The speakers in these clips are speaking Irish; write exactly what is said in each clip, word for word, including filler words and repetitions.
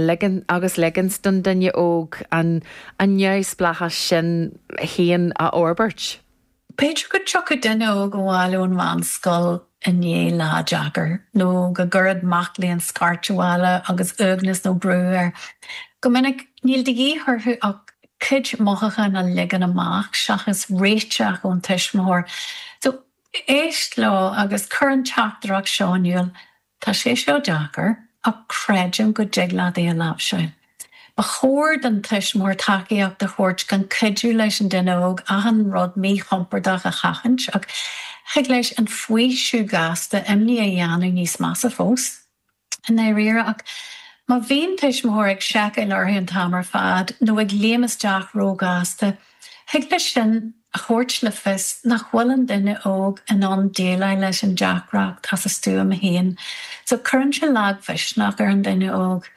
Ligean agus ligint don duine óg an an neamhspleáchas sin féin a fhorbairt. B'fhéidir go dtiocfadh duine óg abhaile ón mheánscoil i ndiaidh lá deacair, nó go gcuirfeadh mac léinn scairt abhaile agus uaigneas nó brú air. Go minic níl de dhíth orthu ach cuid mothúchán a ligean amach seachas réiteach ón tuismitheoir. So éist leo agus cuir an teachtaireacht seo in iúl, Tá sé seo deacair ach creidim go dtig leat é a láimhseáil. Ba chóir don tuismitheoir tacaíocht a thabhairt gan cuidiú leis an duine óg achan rud míchompordach a sheachaint ach thig leis an faoiseamh gasta imní a dhéanamh níos measa fós. I ndáiríre ach má bhíonn tuismitheoir ag seiceáil orthu an t-am ar fad nó ag léim isteach róghasta, thig leis sin a thabhairt le fios nach bhfuil an duine óg in ann déileáil leis an deacracht as a stuaim féin. So cuireann sé lagmhisneach ar an duine óg.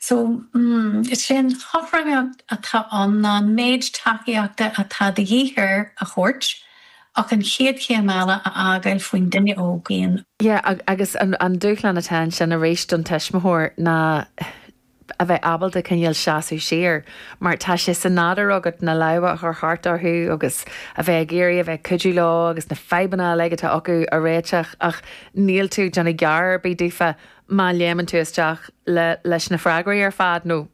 So mm, is é an chothromaíocht atá ann ná an méid tacaíochta atá de dhíth air a thabhairt ach an chéad chéim eile a fhágáil faoin duine óg féin. Yeah, agus an, an dúshlán atá ansin arís don tuismitheoir ná a bheith ábalta cineál seasamh siar, mar tá sé sa nádúr agat na lámha a chur thart orthu agus a bheith ag iarraidh a bheith cuidiú leo agus na fadhbanna uilig atá acu a réiteach ach níl tú déanamh gear ar bith daofa má léimeann tú isteach le leis na freagraí ar fad nó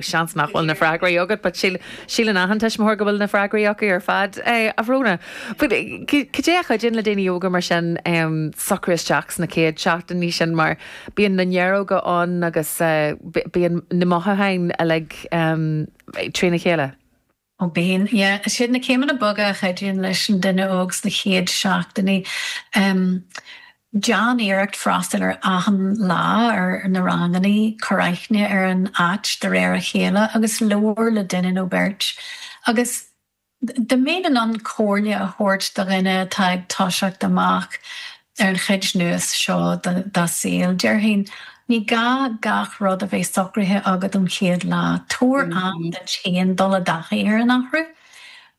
seans nach bhfuil na freagraí agat, but síleann achan tuismitheoir go bhfuil na freagraí acu ar fad é a Bhróna. Cad é a chuidíonn le daoine óga mar sin um, socrú isteach sna chéad seachtainí sin mar bíonn na néaróga ann agus uh, bíonn na mothúcháin uilig um, trína chéile. Ó bíonn siad na céimeanna boga a chuidíonn leis an duine óg sna chéad seachtainí. Um, Déan iarracht freastal ar achan lá ar na ranganna cuir aithne ar an áit de réir a chéile agus labhair le duine nó beirt. Agus dá mbeinn in ann comhairle a thabhairt do dhuine atá ag toiseacht amach ar an chuid nua seo dá saol. Déarfainn ní gá gach rud a bheith socraithe agat an chéad lá, Tabhair am duit féin dul i dtaithí ar an athrú.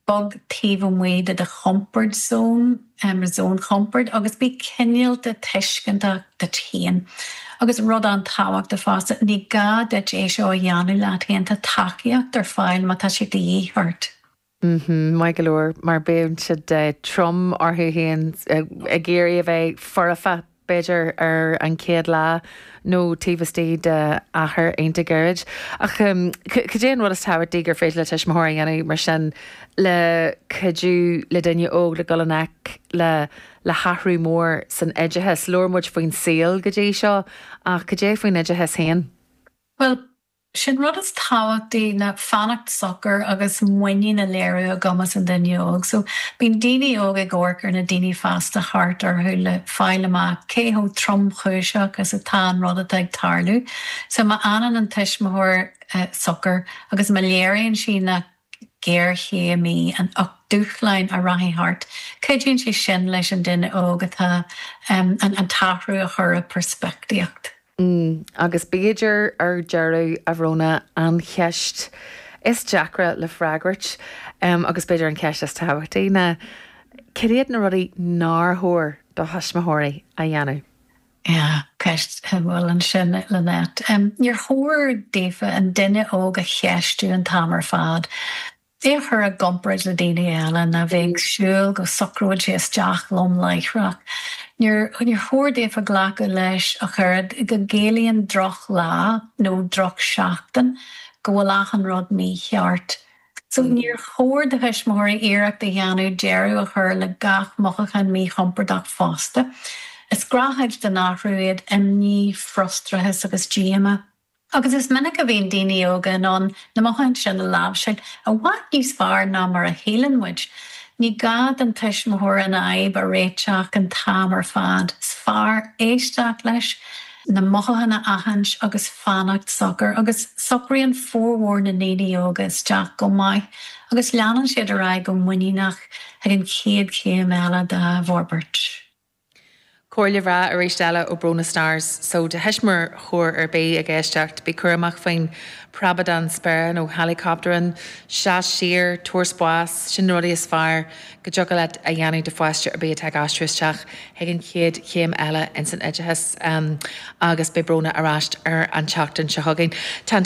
Bog taobh amuigh de do comfort zone um, zone comfort agus bí cineálta tuisceantach duit féin. Agus rud an-tábhachtach fosta ní gá duit é seo a dhéanamh leat féin tá tacaíocht ar fáil má tá sé de dhíth ort. Mm-hmm, Maith go leor mar bíonn siad uh, trom orthu féin uh, ag iarraidh a bheith foirfe b'fhéidir ar an chéad lá nó taobh istigh de achar iontach gairid. Ach um, cad é an rud is tábhachtaí gur féidir le tuismitheoir a dhéanamh mar sin le cuidiú le duine óg le dul i ngleic le le hathrú mór san oideachas labhair muid faoin saol go dtí seo ach cad é faoin oideachas féin. Well, sin rud is tábhachtaí ná fanacht socair agus muinín a léiriú i gcumas an duine óg. So bíonn daoine óg ag amharc ar na daoine fásta thart orthu le fáil amach cé chomh tromchúiseach is atá an rud atá ag tarlú. So má fhanann an tuismitheoir uh, socair agus má léiríonn sí nach géarchéim í an ach dúshlán a rachaidh thart. Cuidíonn sé sin leis an duine óg atá um, an, an t-athrú a chur i peirspictíocht. Mm, agus b'fhéidir ar deireadh a Bhróna an cheist is deacra le freagairt um, agus b'fhéidir an cheist is tábhachtaí ná cad iad na rudaí nár chóir do thuismitheoirí a dhéanamh. Ja, ceist bhfuil ansin Lynette. Um, Níor chóir daofa an duine óg a cheistiú an t-am ar fad. É chur i gcomparáid le daoine eile ná bheith ag súil go socróidh sé isteach lom láithreach. Níor níor chóir daofa glacadh leis a chur go gciallaíonn drochlá nó drochsheachtain go bhfuil achan rud mícheart. So níor chóir do thuismitheoirí iarracht a dhéanamh deireadh a chur le gach mothúchán míchompordach fosta. Is gnáthchuid den athrú iad imní, frustrachas agus díomá. Agus is minic a bhíonn daoine óga in ann na mothúcháin sin a láimhseáil i bhfad níos fearr ná mar a shíleann muid. Ní gá don tuismitheoir an fhadhb a réiteach an t-am ar fad. Is fearr éisteacht leis na mothúcháin a aithint agus fanacht socair agus socraíonn formhór na ndaoine óga isteach go maith agus leanann siad ar aghaidh go muiníneach ag an chéad chéim eile dá bhforbairt. Comhairle bhreá arís eile ó Bróna Stars, so do thuismitheoir ar bith ag éisteacht, bí cúramach faoin preabadán spéire nó helicopter, seas siar, tabhair spás, sin na rudaí is fearr go dtiocfadh leat a dhéanamh do pháiste ar bith atá ag aistriú isteach chuig an chéad chéim eile ins an oideachas um, agus beidh Bróna ar ais ar an tseachtain seo chugainn. Tá